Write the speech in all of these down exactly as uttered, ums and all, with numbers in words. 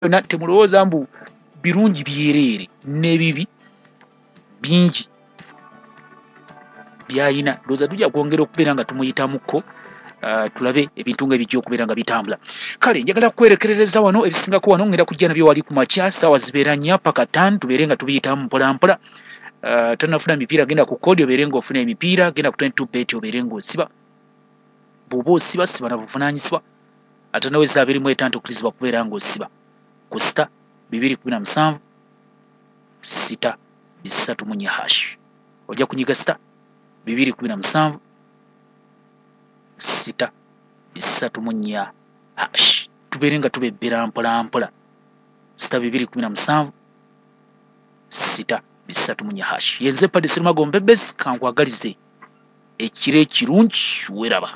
Byonna temulowooza mbu birungi byereere, n'ebibi bingi byayina. Ndowooza tujja kwongera okubeera nga tumuyitamuko, uh, tulabe ebintu nga ebijja okubeera nga bitambula. Kale njagala kwerekerereza wano, ebisingako wano ngenda kujja nabyo wali ku makya, saawa zibeera nnya paka ttaano, tubeere nga tubiyitamu mpola mpola. uh, tonafuna mipiira, genda ku kodi obeere ng'ofuna emipiira, genda ku twenty-two bet obeere ng'osiba. Bw'oba osiba, siba na buvunaanyizibwa, ate noweza abiri mu etaano tokkirizibwa kubeera ng'osiba ku sita bibiri kumi na musanvu sita bisatu mu nnya hash. Ojja kunyiga sita bibiri kumi na musanvu sita bisatu mu nnya hash, tubeere nga tubebbera mpola mpola. Sita bibiri kumi na musanvu sita bisatu mu nnya hash. Yenze Paddy Serumago Mbebezi, kankwagalize ekiro ekirungi, weraba.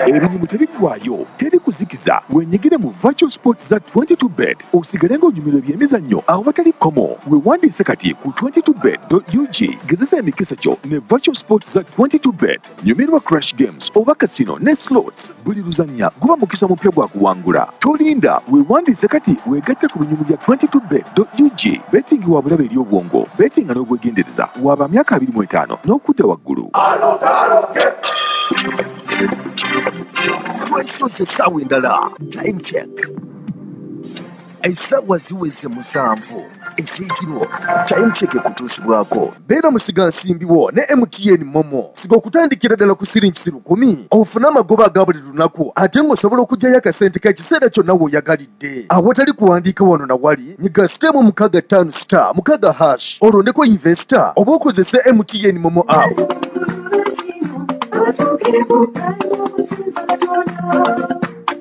Ebinyumu tebiggwayo, teri kuzikiza. Wenyigire mu virtual sports za twenty-two bet, osigale ng'onyumirwa ebyemizannyo awatali kkomo. Weewandiise kati ku twenty-two bet dot U G, gezesa emikisa gyo ne virtual sports za twenty-two bet. Nyumirwa crash games oba casino ne slots. Buli luzannya guba mukisa mupya gwa kuwangula. Tolinda, weewandiise kati weegatte ku binyumu bya twenty-two bet dot U G. Betting wa bulabe eri obwongo, betting nga n'obwegendereza, waba myaka abiri mu etaano n'okudda waggulu. Twesoze essaawa endala, time check. Essaawa ziweze musanvu ez'ekiro. Time check ekutuusibwako. Beera musigansimbi wo ne M T N Momo. Siga okutandikira ddala ku siringi lukumi, ofune amagoba aga buli lunaku, ate ng'osobola okuggyayo akasente k'ekiseera kyonna w'oyagalidde. Awatali kuwandiika wano na wali, nyiga sitemu mukaaga ttaano star mukaaga hash, olondeko investor oba okozese M T N Momo app.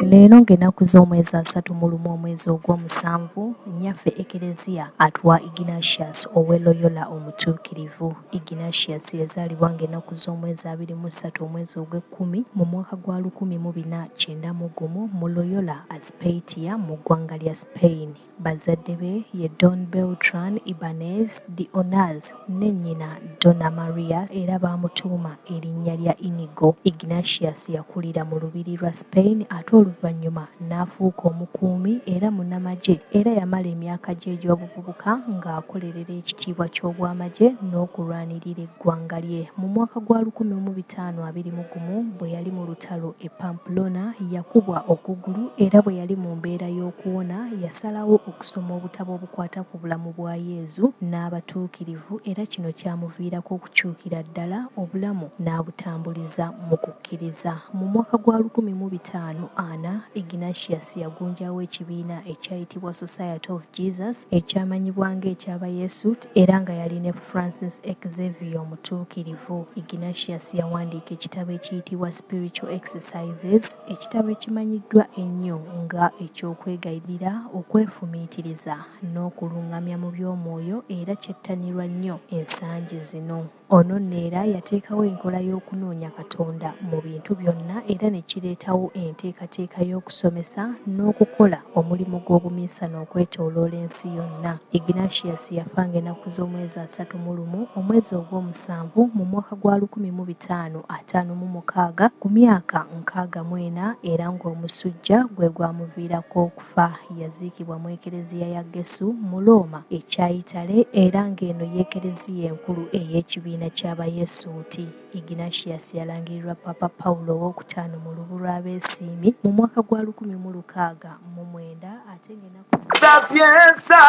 Leero ng'ennaku z'omwezi asatu mu lumu omwezi ogw'omusanvu, nnyaffe Ekereziya atuwa Ignatius ow'e Loyola omutuukirivu. Ignatius yazaalibwa ng'ennaku z'omwezi abiri mu ssatu omwezi ogw'ekkumi mu mwaka gwa lukumi mu bina kyenda mu gumu mu Loyola Azpeitia mu ggwanga lya Spain. Bazadde be ye Don Beltran Ibanez de Onaz ne nnyina Donna Maria, era baamutuuma erinnya lya Inigo. Ignatius yakulira mu lubiri lwa Spain ate oluvannyuma n'afuuka omukuumi era munnamagye, era yamala emyaka gye egy'obuvubuka ng'akolerera ekitiibwa ky'obwamagye n'okulwanirira eggwanga lye. Mu mwaka gwa lukumi mu bitaano abiri mu gumu bwe yali mu lutalo e Pamplona, yakubwa okugulu, era bwe yali mu mbeera y'okuwona yasalawo okusoma obutabo obukwata ku bulamu bwa Yezu n'abatuukirivu, era kino kyamuviirako okukyukira ddala obulamu n'abutambuliza mu kukkiriza. Mu mwaka gwa lukumi mu bitaano ana, Ignatius yagunjawo ekibiina ekyayitibwa Society of Jesus ekyamanyibwa ng'eky'Abayesuit, era nga yali ne Francis Xavier omutuukirivu. Ignatius yawandiika ekitabo ekiyitibwa Spiritual Exercises, ekitabo ekimanyiddwa ennyo nga eky'okwegayirira, okwefumiitiriza n'okulungamya mu by'omwoyo, era kyettanirwa nnyo ensangi zino. Ono nno era yateekawo enkola y'okunoonya Katonda mu bintu byonna, era ne kireetawo enteekateeka y'okusomesa n'okukola omulimu gw'obuminsani okwetooloola ensi yonna. Ignatius yafa ng'ennaku z'omwezi asatu mu lumu omwezi ogw'omusanvu mu mwaka gwa lukumi mu bitaano ataano mu mukaaga ku myaka nkaaga mu ena, era ng'omusujja gwe gwamuviirako okufa. Yaziikibwa mu Ekereziya ya Gesu mu Rooma ekya Itale, era ng'eno y'Ekereziya enkulu ey'ekibiina ky'Abayesuuti. Ignatius yalangirirwa Papa Paulo owookutaano mu lubu lw'abeesiimi mu mwaka gwa lukumi mu lukaaga mu mwenda, ate ng'ennaku Sapienza,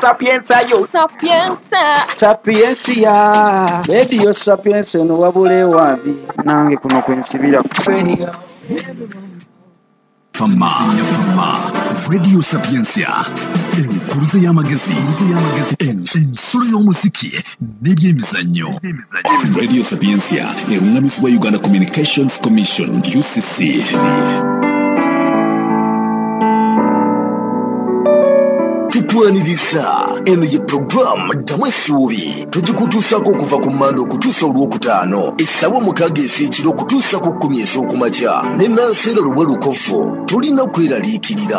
sapienza yo, Sapienza, sapiensia. Radio Sapienza eno wabula ewabi nange kuno kwe nsibira. Fama, Fama, Radio Sapientia, enkuruze y'amagezi, ensolo y'omuziki n'ebyemizannyo. Radio Sapientia erungamizibwa Uganda Communications Commission U C C. Tukwaniriza eno ye programu Ddamu Essuubi, tugikutuusaako okuva ku Mmande okutuusa olwokutaano essaawa mukaaga ez'ekiro okutuusa ku kkumi ez'okumakya ne Nanseera Lubwe Lukofu. Tulina kweraliikirira.